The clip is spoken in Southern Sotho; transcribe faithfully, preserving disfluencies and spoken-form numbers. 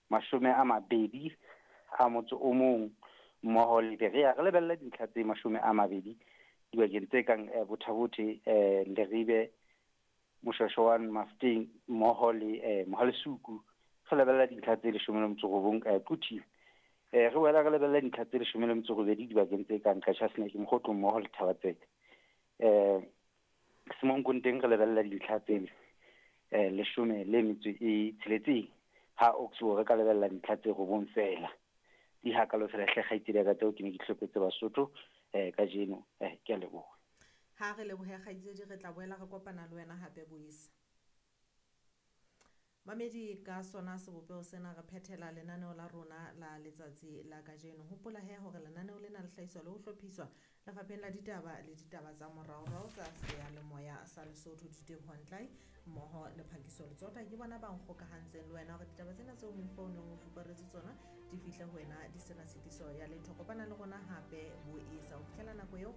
mashome a mabedi a motso o mong mmoho le Berea. Re lebella dintlha tse mashome a mabedi dibakeng tse kang eh, Botha-Bothe, eh, Leribe, Moshoeshoane, Mafeteng mmoho le eh, Mohalesuku. Re lebella dintlha tse leshome le metso robong eh, Quthing. Eh, re boela re lebella dintlha tse leshome le metso robedi dibakeng tse kang Qacha's Nek, Mokhotlong mmoho le Thaba-Tseka. Eh, Semonkong teng re lebella dintlha tse eh, leshome le metso e tsheletseng. Ha Oxbow re ka lebella dintlha tse robong feela. Di hakalo fela hle kgaitsedi ya ka tseo ke ne ke hlopetse Basotho eh, kajeno. Eh, ke a leboha. Ha re lebohe kgaitsedi, re tla boela re kopana le wena hape boisa. Mamedi, ka sona sebopeho sena re phethela lenaneo la rona la letsatsi la kajeno. Hopola he hore lenaneo lena le hlahiswa le ho hlophiswa lefapheng la ditaba le ditaba tsa moraorao tsa seyalemoya sa Lesotho. Diteboho Ntlai mmoho le Phakiso Letsota ke bona ba nkgokahantseng le wena hore ditaba tsena tseo moifo o neng o fuparetse tsona di fihle ho wena di sena tshitiso ya letho. Kopana le rona hape boesa ho fihlela nako eo.